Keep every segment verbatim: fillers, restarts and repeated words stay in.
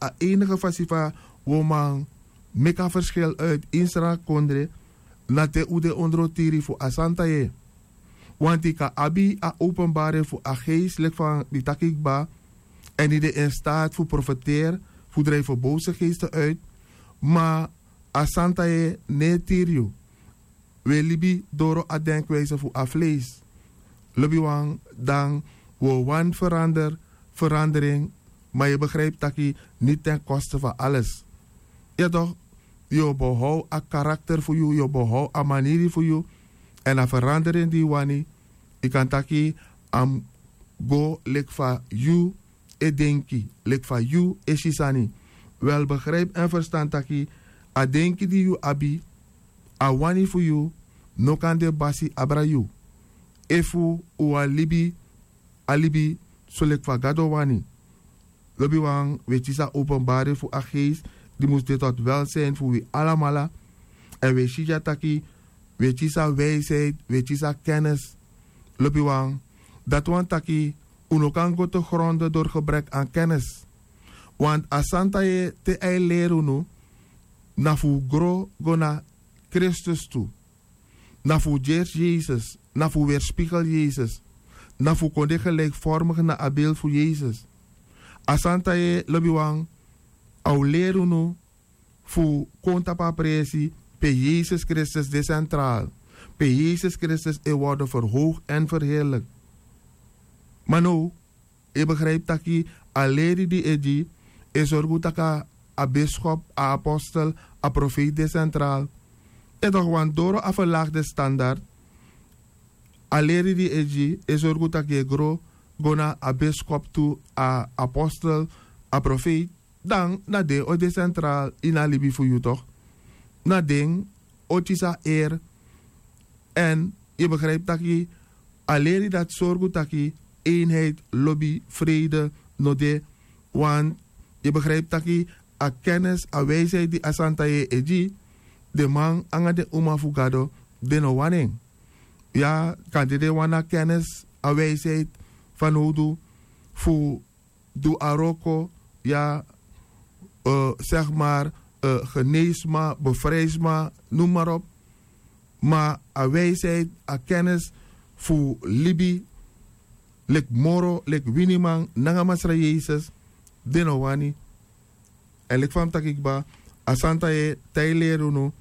a enige fasi fa wi o man meki a ferskil uiti ini srakondre, na te un de ondro tiri fu a santa yeye. Wanti yu kan abi a openbari fu a geesti leki fa mi taki kba, èn yu de in staat fu profeteri, fu drijfi bowse geesti uiti. Ma a santa yeye no e tiri yu. Wi e libi doro a denkwijse fu a fleisi. Lobiwan, dan wi o wani ferander, ferandering. Ma yu e begrijpi taki niti ten koste fu ales. Ya tok, yu o behow a karakter fu yu, yu o behow a maniri fu yu. Èn a ferandering di yu wani, yu kan taki a mus go leki fa yu e denki, leki fa yu e si sani. Wel, begrijpi èn ferstan taki a denki di yu abi, a wani fu yu, no kan de basi abra yu efu un wani libi a libi soleki fa gado wani. Lobiwan, wi e kisi a openbari fu a geesti di mus de tot welsin fu wi alamala. Èn wi e si dya taki wi e kisi a wijsheid, wi e kisi a kennis. Lobiwan, dati wani taki un no kan go te gronde dori gebrek an kennis. Want a santa yeye te a e leri unu, na fu un gro go na kristus tu. Na fu un gersi yesus, na fu un werspigel yesus, na fu un kon de gelikformigi na a beli fu yesus. A santa yeye, lobiwan, a o leri unu fu kon tapu a presi pe yesus kristus de sentral, pe yesus kristus e worde ferhoogdi èn ferheerliki. Ma now, yu e begrijpi taki a leri di yu e gi e sorgu taki a biskop, a apostel, a profeiti de sentral. Yu e tok, wan doro a ferlagi de standard. A leri di yu e gi e sorgu taki yu e gro go na a biskop tu, a apostel, a profeiti. Dan na den o de sentral ini a libi fu yu tok. Na den o kisi a eri. Èn yu e begrijpi taki a leri dati sorgu taki eenheid, lobi, frede no de. Want yu e begrijpi taki a kennis, a wijsheid di a santa yeye e gi, den man nanga den uma fu gado, den no wani en. Ya, kande den wani a kennis, a wijsheid fanowdu fu du a wroko, ya, segi mari, geneesma, befrijsma, num mari op. Ma a wijsheid, a kennis fu libi leki moro, leki winiman nanga masra yesus, den no wani. Èn leki fa mi taki kba, a santa yeye te a e leri unu,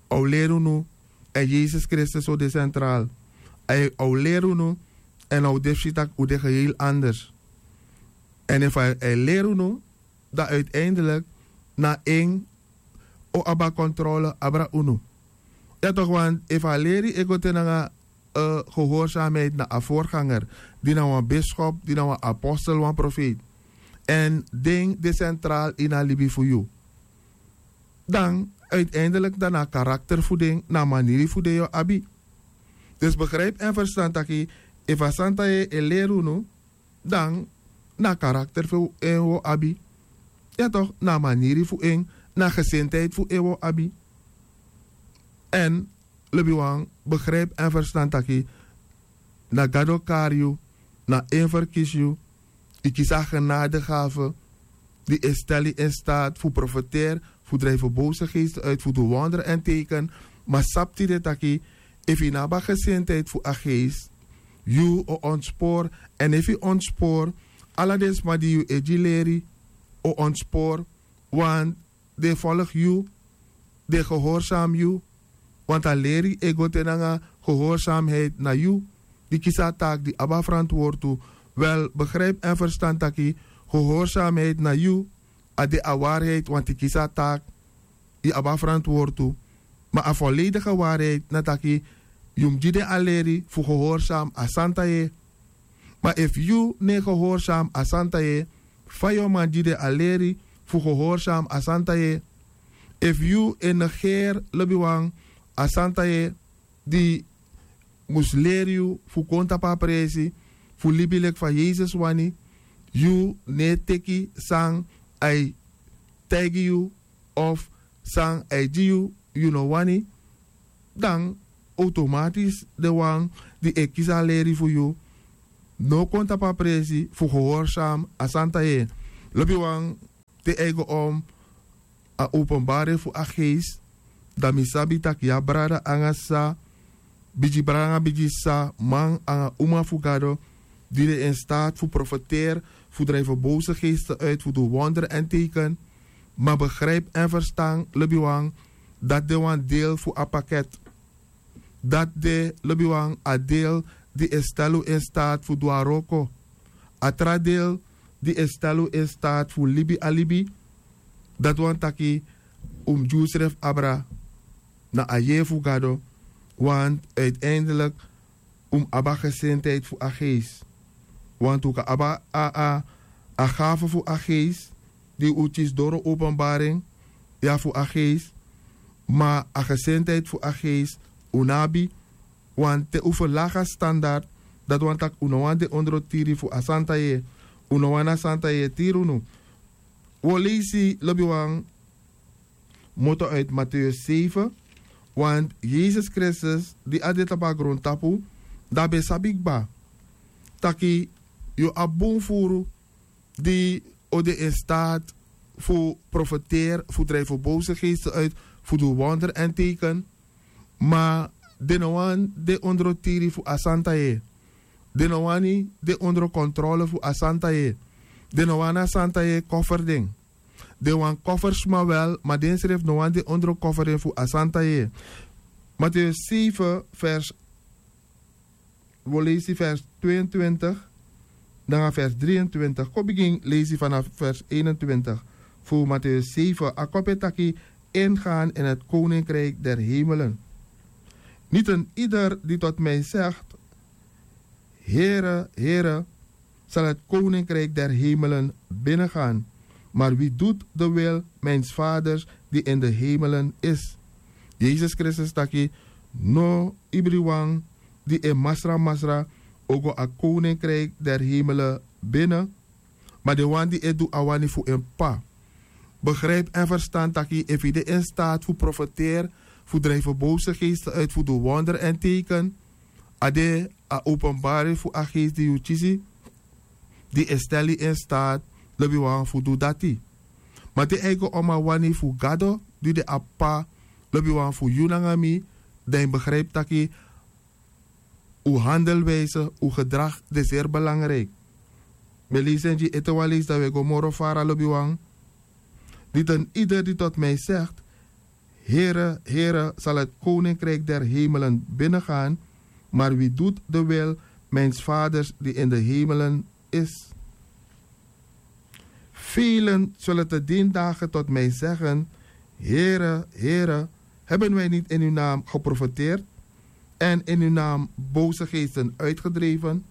a o leri unu, èn yesus kristus o de sentral. A o leri unu, èn a o de fu si tak' un de geheel anders. Èn efu a e leri unu, dan uiteindelik na en o abi a kontrole abra unu. Ya tok, want efu a leri e go te nanga gehoorsamheid na a vorganger, di na wan biskop, di na wan apostel, wan profeiti, èn den de sentral ini a libi fu yu, dan uiteindelik dan na a karakter fu den, na a maniri fu den yu o abi. Dus begrijpi èn ferstan taki efu a santa yeye e leri unu, dan na a karakter fu en wi o abi. Ya tok, na a maniri fu en, na a gesintheid fu en wi o abi. Èn lobiwan, begrijpi èn ferstan taki na gado kari yu, na en ferkisi yu. Yu kisi a genadegafe di e stel yu in staat fu profeteri, fu drijfi bowse geesti uiti, fu du wondere èn teken. Ma sabi tide taki efu yu no abi a gesintheid fu a geesti, yu o ontspori. Èn efu yu ontspori, ala den sma di yu e gi leri o ontspori. Want den e folgi yu, den e gehorsami yu. Want a leri e go te nanga gehorsamiheid na yu di kisi a taaki, di abi a ferantwortu. Wel, begrijpi èn ferstan taki gehorsamiheid na yu, a de a wariheid, want yu kisi a taaki, yu abi a ferantwortu. Ma a voledige wariheid na taki yu mus gi den a leri fu gehorsami a santa yeye. Ma efu yu no e gehorsami a santa yeye, fa yu o man gi den a leri fu gehorsami a santa yeye? Efu yu e negeri, lobiwan, a santa yeye di mus leri yu fu kon tapu a presi fu libi leki fa yesus wani, yu no e teki san a e taigi yu, of san a e gi yu, yu no wani, dan automatis den wan di e kisi a leri fu yu no o kon tapu a presi fu gehorsami a santa yeye. Lobiwan, te a e go om a openbari fu a geest, dan mi sabi tak' yu a brada nanga sisa, bigi brada nanga bigi sisa, man nanga uma fu gado, di de in staat fu profeteri, fu drijfi bose geesten uit, fu du wonderi èn teiken. Ma begripi èn ferstan, lobiwan, dati de wan deel fu a paket. Dati de, lobiwan, a deel di e stel un in staat fu du a wroko. A tra deel di e stel un in staat fu libi a libi, dati wani taki un mus gi unsrefi abra na a yeye fu gado. Want uiteindelik un mus abi a gesintheid fu a geest. Want un kan abi a a a gafe fu a geest, di un kisi doro openbaring, ya, fu a geest. Ma a gesintheid fu a geest un no abi. Want te un ferlagi a standard, dati wani tak' un no wani de ondro tiri fu a santa yeye. Un no wani a santa yeye tiri unu. Un o leisi, lobiwan, moto uit Mateus zeven. Want Yesus Kristus di a de tapu a grontapu, dan a ben sabi kba taki yu o abi bun furu di o de in staat fu profeteri, fu drijfi bose geesten uit, fu du wonder èn teiken. Ma den no wani de ondro tiri fu a santa yeye. Den no wani de ondro kontrole fu a santa yeye. Den no wani a santa yeye koferi den. Den wani koferi sma wel, ma densrefi no wani de ondro koferi fu a santa yeye. Mateus zeven vers, wi o leisi vers tweeëntwintig nanga vers drieëntwintig. Kon bigin leisi vanaf vers eenentwintig fu Mateus zeven. A kopu e taki: Ingaan in het koninkrijk der hemelen. Niet een ieder die tot mij zegt: Here, Here, zal het koninkrijk der hemelen binnengaan, maar wie doet de wil mijns vaders die in de hemelen is. Yesus Kristus taki: No ibriwan di e masra masra o go a koninkrijk der hemelen binnen, ma den wan di e du a wani fu en P'pa. Begrijp en verstan taki efu yu de in staat fu profeteri, fu drijfi bose geesten uit, fu du wonder en teiken, a de a openbaring fu a geest di yu kisi, di e stel yu in staat, lobiwan, fu du dati. Ma te a e go om a wani fu Gado di de a P'pa, lobiwan, fu yu nanga mi, dan yu begrijp taki un handelwijze, un gedrag de zeer belangrijk. Mi e leisi en gi ete wan leisi, dan wi e go moro fara, lobiwan. Niet een ieder die tot mij zegt: Here, Here, zal het koninkrijk der hemelen binnengaan, maar wie doet de wil mijns vaders die in de hemelen is. Velen zullen te dien dagen tot mij zeggen: Here, Here, hebben wij niet in uw naam geprofeteerd en in uw naam boze geesten uitgedreven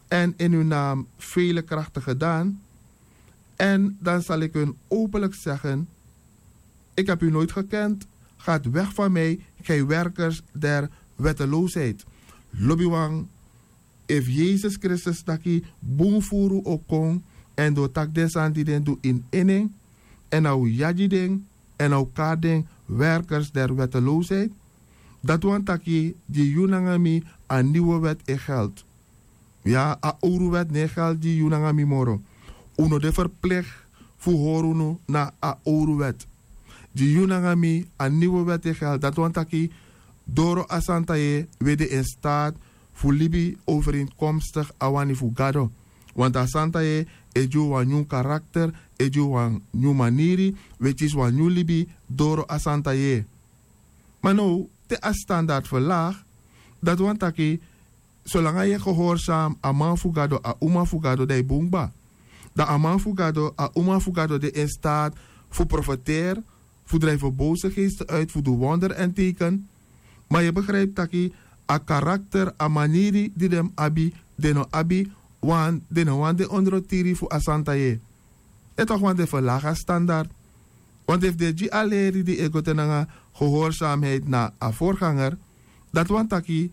en in uw naam vele krachten gedaan? En dan zal ik hun openlijk zeggen: Ik heb u nooit gekend. Gaat weg van mij, gij werkers der wetteloosheid. Lobiwan, efu Yesus Kristus taki bun furu o kon èn den o taki den sani di den du ini en nen, èn a o yagi den, èn a o kari den werkers der wetteloosheid, dati wani taki gi yu nanga mi a nieuwe wet e geld. Ya, a owru wet no e geld gi yu nanga mi moro. Un no de verplicht fu hori unu na a owru wet. Gi yu nanga mi a nieuwe wet e geld. Dati wani taki doro a santa yeye wi e de in staat fu libi overeenkomstig a wani fu Gado. Want a santa yeye e gi wi wan nyun karakter, e gi wi wan nyun maniri, wi e kisi wan nyun libi doro a santa yeye. Ma now, te a standard verlaag, dati wani taki solanga yu e gehorsam a man fu Gado, a uma fu Gado, dan yu bun kba. Dan a man fu Gado, a uma fu Gado de in staat fu profeteri, fu drijfi boze geesten uit, fu du wonder èn teiken. Ma yu e begrijp taki a karakter, a maniri di den mus abi, den no abi, want den no wani de ondro tiri fu a santa yeye. E tok' wan den verlaag a standard. Want efu den e gi a leri di e go te nanga gehoorzaamheid na a voorganger, dati wani taki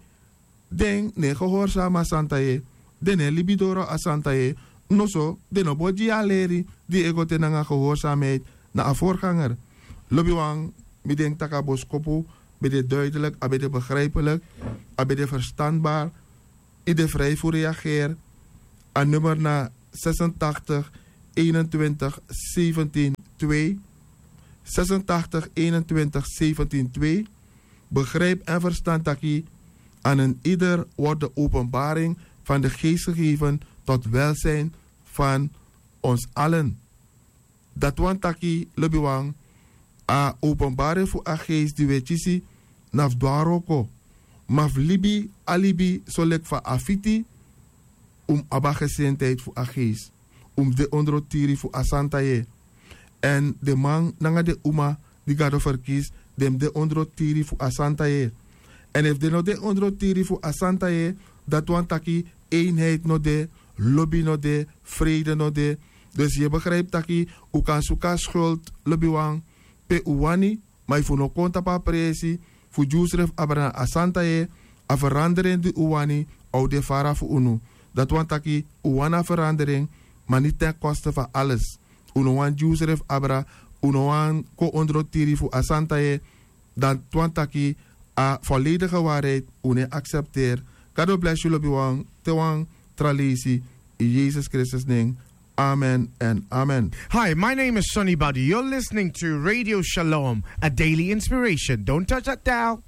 den no e gehoorzaam a santa yeye, den no e libi doro a santa yeye, noso den no bo gi a leri di e go te nanga gehoorzaamheid na a voorganger. Lobiwan, mi denki tak' a boskopu ben de duidelijk, a ben de begrijpelijk, a ben de verstandbaar. Yu de vrij fu reageri. A nummer na zesentachtig eenentwintig zeventien twee, zesentachtig eenentwintig zeventien twee. Begrijp en verstand taki aan een ieder wordt de openbaring van de geest gegeven tot welzijn van ons allen. Dati wani taki lobiwan, a openbaring fu a geest di wi e kisi na fu dwari oko. Ma fu libi a libi soleki fa a fiti, un mus abi a gesintheid fu a geest. Un mus de ondro tiri fu a santa yeye. Èn den man nanga den uma di gado ferkisi, den mus de ondro tiri fu a santa yeye. Èn efu den no de ondro tiri fu a santa yeye, dati wani taki einheid no de, lobi no de, freide no de. Dus yu e begripi taki un kan suku a skuld lobiwan pe un wani, ma efu un no kon tapu a presi fu gi unsrefi abra na a santa yeye, a ferandering di un wani a o de fara fu unu. Dati wani taki un wani a ferandering, ma ni ten koste fu a ales. Un no wani gi unsrefi abra, un no wani kon ondro tiri fu a santa yeye. Dati wani taki a voledige wariheid un no e aksepteri. Gado blesi yu lobiwan, te wan tra leisi, in Jesus Kristus nen. Amen en amen. Hi, my name is Sonny Badu. You're listening to Radio Shalom, a daily inspiration. Don't touch that dial.